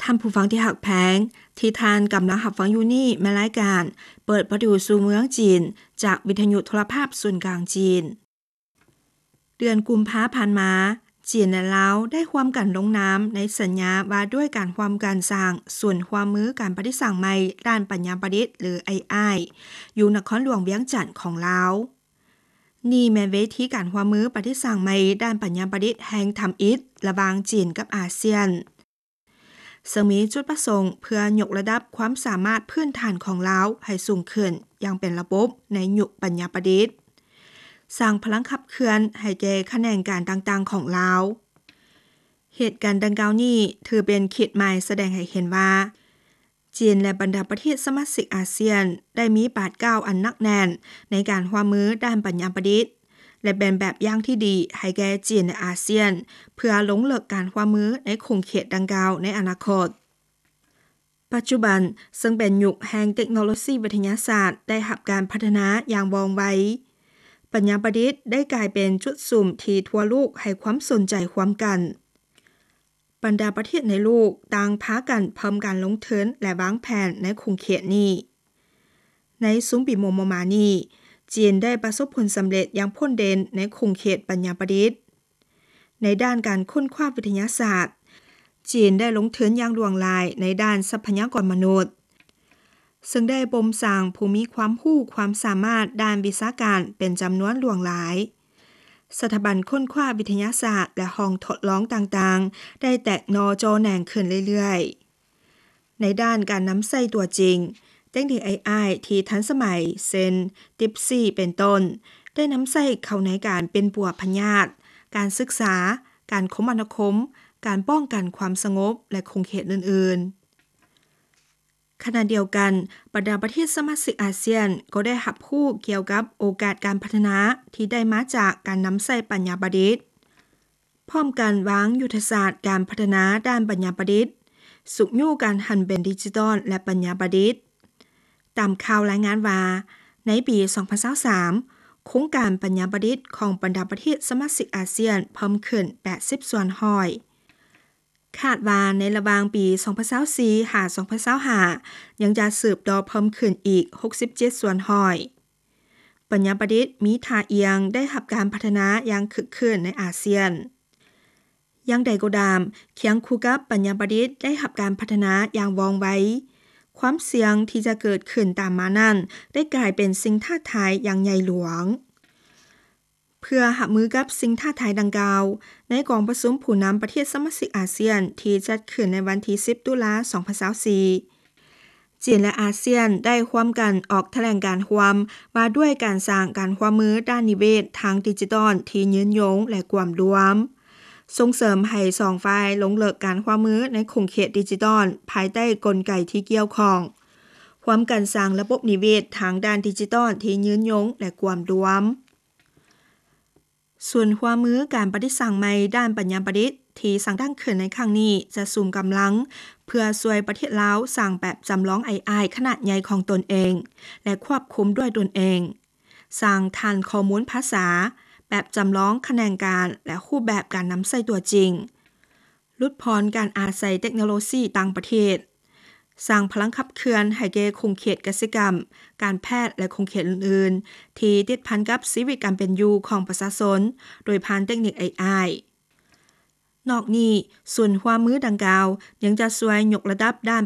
ທ່ານຜູ້ຟັງທີ່ຮັກແພງ, ທີ່ທ່ານກຳລັງຮັບຟັງຢູ່ນີ້ແມ່ນລາຍການເປີດປະຕູສູ່ເມືອງຈີນ ຈາກວິທະຍຸໂທລະພາບສູນກາງຈີນ. ເດືອນກຸມພາຜ່ານມາ, ຈີນ ແລະ ລາວ ໄດ້ຮ່ວມກັນລົງນາມໃນສັນຍາວ່າດ້ວຍການຮ່ວມກັນສ້າງສູນຮ່ວມມືການປະດິດສ້າງໃໝ່ດ້ານປັນຍາປະດິດ ຫຼື ເອໄອ ຢູ່ນະຄອນຫຼວງວຽງຈັນຂອງລາວ. ນີ້ແມ່ນເວທີການຮ່ວມມືປະດິດສ້າງໃໝ່ດ້ານປັນຍາປະດິດແຫ່ງທຳອິດລະຫວ່າງຈີນກັບອາຊຽນ, ເຊິ່ງມີຈຸດປະສົງເພື່ອຍົກລະດັບຄວາມສາມາດພື້ນຖານຂອງລາວໃຫ້ສູງຂຶ້ນຢ່າງເປັນລະບົບໃນຍຸກປັນຍາປະດິດ, ສ້າງພະລັງຂັບເຄື່ອນໃຫ້ແກ່ຂະແໜງການຕ່າງໆຂອງລາວ. ເຫດການດັ່ງກ່າວນີ້ຖືເປັນຂີດໝາຍສະແດງໃຫ້ເຫັນວ່າ ຈີນ ແລະ ບັນດາປະເທດສະມາຊິກອາຊຽນໄດ້ມີບາດກ້າວອັນໜັກແໜ້ນໃນການຮ່ວມມືດ້ານປັນຍາປະດິດ ແລະ ເປັນແບບຢ່າງທີ່ດີໃຫ້ແກ່ຈີນ ແລະ ອາຊຽນ ເພື່ອລົງເລິກການຮ່ວມມືໃນຂົງເຂດດັ່ງກ່າວໃນອະນາຄົດ. ປັດຈຸບັນເຊິ່ງເປັນຍຸກແຫ່ງເຕັກໂນໂລຊີວິທະຍາສາດໄດ້ຮັບການພັດທະນາຢ່າງວ່ອງໄວ, ປັນຍາປະດິດໄດ້ກາຍເປັນຈຸດສຸມທີ່ທົ່ວໂລກໃຫ້ຄວາມສົນໃຈຮ່ວມກັນ. ບັນດາປະເທດໃນໂລກຕ່າງພາກັນເພີ່ມການລົງທຶນ ແລະ ວາງແຜນໃນຂົງເຂດນີ້. ໃນຊຸມປີມໍ່ໆມານີ້, ຈີນໄດ້ປະສົບຜົນສຳເລັດຢ່າງໂດດເດັ່ນໃນຂົງເຂດປັນຍາປະດິດ. ໃນດ້ານການຄົ້ນຄວ້າວິທະຍາສາດ, ຈີນໄດ້ລົງທຶນຢ່າງຫຼວງຫຼາຍໃນດ້ານຊັບພະຍາກອນມະນຸດ, ເຊິ່ງໄດ້ບົ່ມສ້າງຜູ້ມີຄວາມຮູ້ຄວາມສາມາດດ້ານວິຊາການເປັນຈຳນວນຫຼວງຫຼາຍ. ສະຖາບັນຄົ້ນຄວ້າວິທະຍາສາດ ແລະ ຫ້ອງທົດລອງຕ່າງໆ ໄດ້ແຕກໜໍ່ຈໍແໜງຂຶ້ນເລື້ອຍໆ. ໃນດ້ານການນຳໃຊ້ຕົວຈິງ, ເຕັກນິກເອໄອທີ່ທັນສະໄໝ ເຊັ່ນ DeepSeek ເປັນຕົ້ນ, ໄດ້ນຳໃຊ້ເຂົ້າໃນການປິ່ນປົວພະຍາດ, ການສຶກສາ, ການຄົມມະນາຄົມ, ການປ້ອງກັນຄວາມສະຫງົບ ແລະ ຂົງເຂດອື່ນໆ. ຂະນະດຽວກັນ, ບັນດາປະເທດສະມາຊິກອາຊຽນກໍໄດ້ຮັບຮູ້ກ່ຽວກັບໂອກາດການພັດທະນາທີ່ໄດ້ມາຈາກການນຳໃຊ້ປັນຍາປະດິດ, ພ້ອມກັນວາງຍຸດທະສາດການພັດທະນາດ້ານປັນຍາປະດິດ, ຊຸກຍູ້ການຫັນເປັນດິຈິຕອນ ແລະ ປັນຍາປະດິດ. ຕາມຂ່າວລາຍງານວ່າ, ໃນປີສອງພັນຊາວສາມ ໂຄງການປັນຍາປະດິດຂອງບັນດາປະເທດສະມາຊິກອາຊຽນເພີ່ມຂຶ້ນແປດສິບສ່ວນຮ້ອຍ. ຄາດວ່າໃນລະຫວ່າງປີສອງພັນຊາວສີ່ຫາສອງພັນຊາວຫ້າ ຍັງຈະສືບຕໍ່ເພີ່ມຂຶ້ນອີກຫົກສິບເຈັດສ່ວນຮ້ອຍ. ປັນຍາປະດິດມີທ່າອ່ຽງໄດ້ຮັບການພັດທະນາຢ່າງຄຶກຄື້ນໃນອາຊຽນ. ຢ່າງໃດກໍຕາມ, ຄຽງຄູ່ກັບປັນຍາປະດິດໄດ້ຮັບການພັດທະນາຢ່າງວ່ອງໄວ, ຄວາມສ່ຽງທີ່ຈະເກີດຂຶ້ນຕາມມານັ້ນໄດ້ກາຍເປັນສິ່ງທ້າທາຍຢ່າງໃຫຍ່ຫຼວງ. ເພື່ອຮັບມືກັບສິ່ງທ້າທາຍດັ່ງກ່າວ, ໃນກອງປະຊຸມຜູ້ນຳປະເທດສະມາຊິກອາຊຽນທີ່ຈັດຂຶ້ນໃນວັນທີສິບ ຕຸລາ ສອງພັນຊາວສີ່, ຈີນ ແລະ ອາຊຽນໄດ້ຮ່ວມກັນອອກຖະແຫຼງການຮ່ວມວ່າດ້ວຍການສ້າງການຮ່ວມມືດ້ານນິເວດທາງດິຈິຕອນທີ່ຍືນຍົງ ແລະ ກວມລວມ, ສົ່ງເສີມໃຫ້ສອງຝ່າຍລົງເລິກການຮ່ວມມືໃນຂົງເຂດດິຈິຕອນພາຍໃຕ້ກົນໄກທີ່ກ່ຽວຂ້ອງ, ຮ່ວມກັນສ້າງລະບົບນິເວດທາງດ້ານດິຈິຕອນທີ່ຍືນຍົງ ແລະ ກວມລວມ. ສູນຮ່ວມມືການປະດິດສ້າງໃໝ່ດ້ານປັນຍາປະດິດທີ່ສ້າງຕັ້ງຂຶ້ນໃນຄັ້ງນີ້ ຈະສຸມກຳລັງເພື່ອຊ່ວຍປະເທດລາວສ້າງແບບຈຳລອງເອໄອຂະໜາດໃຫຍ່ຂອງຕົນເອງ ແລະ ຄວບຄຸມດ້ວຍຕົນເອງ, ສ້າງຖານຂໍ້ມູນພາສາ, ແບບຈຳລອງຂະແໜງການ ແລະ ຮູບແບບການນຳໃຊ້ຕົວຈິງ, ຫຼຸດຜ່ອນການອາໄສເຕັກໂນໂລຊີຕ່າງປະເທດ, ສ້າງພະລັງຂັບເຄື່ອນໃຫ້ແກ່ຂົງເຂດກະສິກຳ, ການແພດ ແລະ ຂົງເຂດອື່ນໆ ທີ່ຕິດພັນກັບຊີວິດການເປັນຢູ່ຂອງປະຊາຊົນ ໂດຍຜ່ານເຕັກນິກເອໄອ. ນອກນີ້, ສູນຮ່ວມມືດັ່ງກ່າວຍັງຈະຊ່ວຍຍົກລະດັບດ້ານ